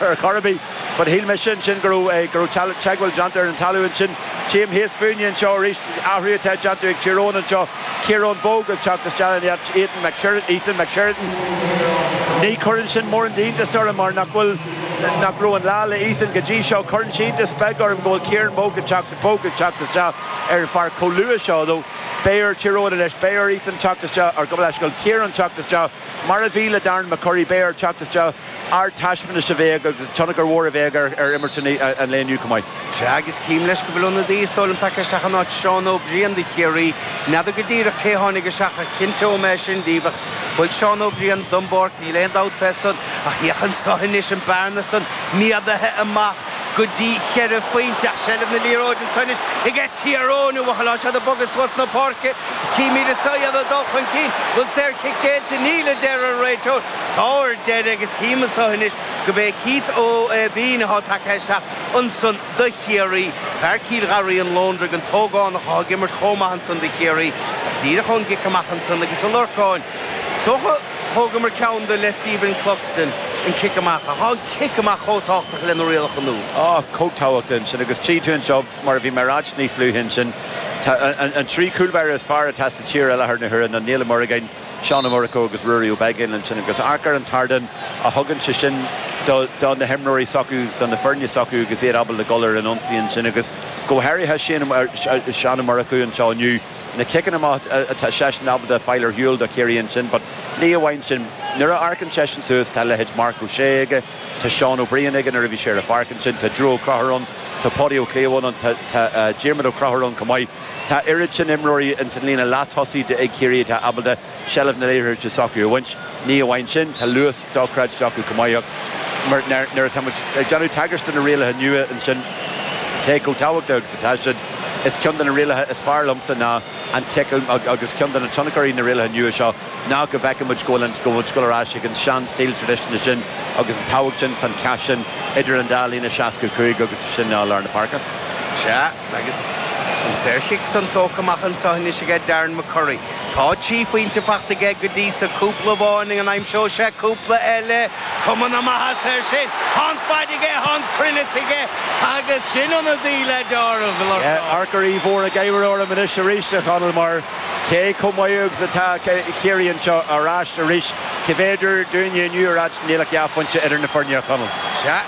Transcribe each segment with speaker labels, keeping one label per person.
Speaker 1: Ar chor ar bith. But shíl mise ansin go raibh go raibh teagmháil déanta ar an talamh ansin. Tchím thíos fúinne anseo arís athrú atá déanta ag Tír Eoghain anseo. Ciarán Bogue ag teacht isteach in áit Ethan McSheridan. Ethan McSheridan. Ní chuireann sin mórán d'iontas orm mar nach bhfuil nach raibh an lá le Ethan go dtí seo. Cuireann sé iontas beag orm go bhfuil Ciarán Bogue ag teacht Bogue ag teacht isteach ar an pháirc chomh luath seo though. Beidh ar Tír Eoghain anois, beidh ar Ethan teacht isteach, or gabh mo leithscéal, Ciarán teacht isteach mar a bhí le Darren McCurry, beidh air teacht isteach. Ardtaispeántas a bheidh aige agus tionchar mhór a bheidh aige ar imirt an lae inniu chomh maith.
Speaker 2: Sea, agus cím leis go bhfuil ionadaí is dóigh liom tagtha isteach in áit Seán Ó Briain do Chiarraí. N'fheadar go díreach cé tháinig isteach ach cinnteoidh mé sin díbh ach chuaigh Seán Ó Briain don bpáirc, níl aon dabht fé san. Ach féach anso anois an bearna san méadaithe amach go dtí cheithre phointe ach seilbh na liathróide anso anois aige Tír Eoghain, a bhuachaill, tá siad ag bogadh suas na páirce is címid anso iad ag dul chun cinn. Bhfuil saorchic géillte? Níl, a deir an réiteoir. Tá ar deireadh agus cím anso anois go b'é Keith Ó Bean atá tagtha isteach ansan do Chiarraí, fear Cill Gharraí an Lóndraigh, an t-ógánach atá ag imirt chomh maith ansan do Chiarraí, díreach ón gcic amach ansan agus a Lorcáin. Is dócha thógamar ceann de le Stephen Cluxton, an cic amach, ach tá an cic amach chomh tábhachtach le na rialacha nua.
Speaker 1: Á, chomh tábhachtach ansin agus tchí tú anseo, mar a bhí mé a ráit níos luaithe ansin, tá an trí chúlbáire is fearr atá sa tír i láthair na huaire ná Niall Ó Muireagáin, Seán Ó Murchú agus Ruairí Ó Beaglaoich ansin agus amharc ar an t-ardán a thugann sé sin do na himreoirí s'acu agus do na foirne s'acu agus iad ábalta dul ar an ionsaí ansin agus go háirithe Seán Ó Murchú anseo inniu, na ciceanna amach atá seisean ábalta fáil ar shiúl do Chiarraí ansin but ní amháin sin, nuair a amharcann seisean suas tá leithéid Marc Ó Sé aige, tá Seán Ó Briain aige nuair a bhí sé ar an pháirc ansin, tá Drew Ó Conchúir ann, tá Páidí Ó Cliabháin ann, tá Diarmuid Ó Conchúir ann chomh maith. Tá oiread sin imreoirí ins an líne leath-tosaigh ag Ciarraí atá ábalta seilbh na liathróide s'acu a bhaint. Ní amháin sin, tá luas dochreidte acu chomh maith ach mar nuair atá muid ag déanamh tagairt do na rialacha nua ansin, cé chomh tábhachtach agus atá siad, is ceann de na rialacha is fearr liomsa ná an cic agus ceann de na tionchairí na rialacha nua seo ná go bhfeiceann muid go bhfuil an go bhfuil muid ag dul ar ais ag an sean-stíl traidisiúnta sin agus an tábhacht sin fán chath sin idir an dá líne 65 agus sin ná lár na páirce.
Speaker 2: Sea. Agus an saorchic san tógtha amach anso anois aige Darren McCurry. Tá trí phointe fachta aige go dtí so, cúpla amháin, an aimseoidh sé cúpla eile? Cuma na maitheasa air sin! Tá an faid aige, tá an cruinneas aige agus sin ionadaí le deáramh, a Lorcáin.
Speaker 1: Amharc ar Uí Mhór ag éirí orm anois arís, a Chonaill, mar cé chomh maith agus atá Ciarraí anseo ar ais arís, cé bhféidir dúinne inniu a ráit níl ach dhá phointe idir na foirne, a Chonaill.
Speaker 2: Sea,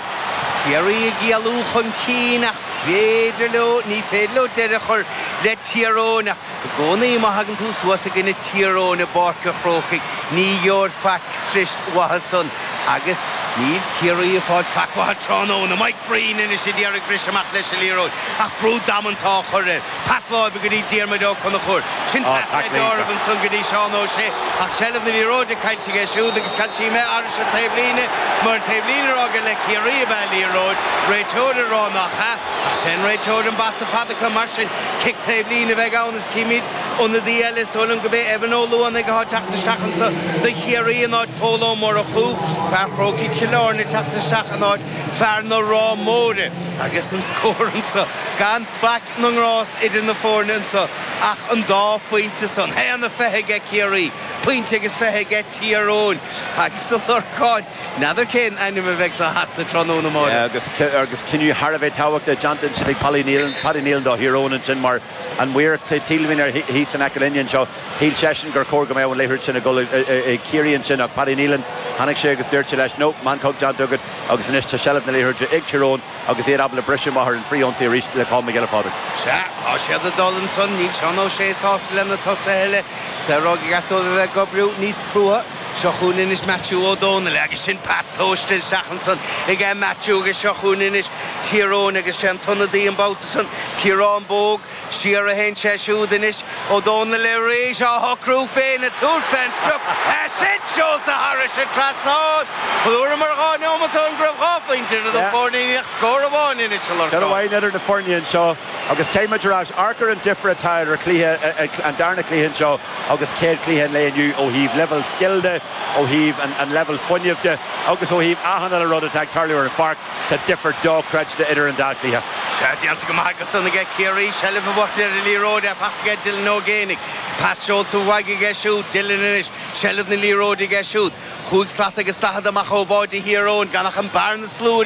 Speaker 2: Ciarraí ag éalú chun cinn ach féidir leo, ní féidir leo deireadh a chur le Tír Eoghain ach i gcónaí má thagann tú suas i gcoinne Tír Eoghain i bPáirc an Chrócaigh ní gheobhair faic fuirist uathu san agus níl Ciarraí ag fáil faic uathu tráthnóna. Mike Breen anois ag iarraidh briseadh amach leis an liathróid ach brú damanta á chur air. Pas láimhe go dtí Diarmuid Ó Conchúir. Sin pas le deáramh ansan go dtí Seán Ó Sé ach seilbh na liathróide caillte aige siúd agus tchí mé arais an taobhlíne mar an taobhlíne ag rá gur le Ciarraí ab ea an liathróid, réiteoir ag rá nach ea ach sé an réiteoir an basa fada acu mar sin cic taobhlíne a bheidh ann is címid ionadaí eile is dóigh liom go b'é Evan Ó Luanaigh atá ag teacht isteach anso do Chiarraí in áit Pól Ó Murchú, fear Chrócaigh Chill Airne ag teacht isteach in áit fear na Ráth Móire agus an scór anso gan faic na ngrás idir na foirne anso ach an dá phointe san. 1-20 aige Ciarraí, pointe agus 20 aige Tír Eoghain agus a Lorcáin, n'fheadar cén ainm a bheidh sa hata tráthnóna
Speaker 1: amáireach. Agus cinneadh thar a bheith tábhachtach déanta ansin ag Paddy Nealon, Paddy Nealon do Thír Eoghain ansin mar an maor taobhlíne thíos in aice linne anseo, shíl seisean gur chóir go mbeadh an liathróid sin ag dul ag Ciarraí ansin ach Paddy Nealon, tháinig sé agus dúirt sé leis, no, meancóg déanta agat agus anois tá seilbh na liathróide ag Tír Eoghain. Agus iad ábalta briseadh amach ar an frith-ionsaí arís le Colm Mac Giolla Phádraig.
Speaker 2: Sea, tá siad ag dul ansan. Níl Seán Ó Sé sásta le na tosaithe eile. Is é a rá gur cheart dóibh a bheith ag oibriú níos crua. Seo chugainn anois Maitiú Ó Dónaill agus sin pas tomhaiste isteach ansan aige Maitiú agus seo chugainn anois Tír Eoghain agus sé an t-ionadaí an babhta san, Ciarán Bogue. Siar a théann sé siúd anois, Ó Dónaill arís á shocrú féin ag tabhairt fén sprioc, é sin seolta thairis an trasnán! Dúramar 2 neomat ó shin go raibh 2 phointe idir na foirne, níl ach scór amháin anois, a
Speaker 1: Lorcáin. Ceann amháin idir na foirne anseo agus caithfidh muid a rá, amharc ar an difear atá idir cluiche, an darna cluiche anseo agus céad cluiche an lae inniu ó thaobh leibhéal scil de, ó thaobh an leibhéal fuinnimh de agus ó thaobh achan uile rud atá ag tarlú ar an pháirc. Tá difear dochreidte idir an dá chluiche.
Speaker 2: Sea, déanta go maith ansan aige Ciarraí, seilbh a bhuachtaint ar an liathróid, é fachta aige Dylan Ó Géibheannaigh. Pas seolta uaidh aige siúd, Dillon anois, seilbh na liathróide aige siúd. Chúig slat agus 40 amach ó bháide Thír Eoghain, gan ach an bearna slúir.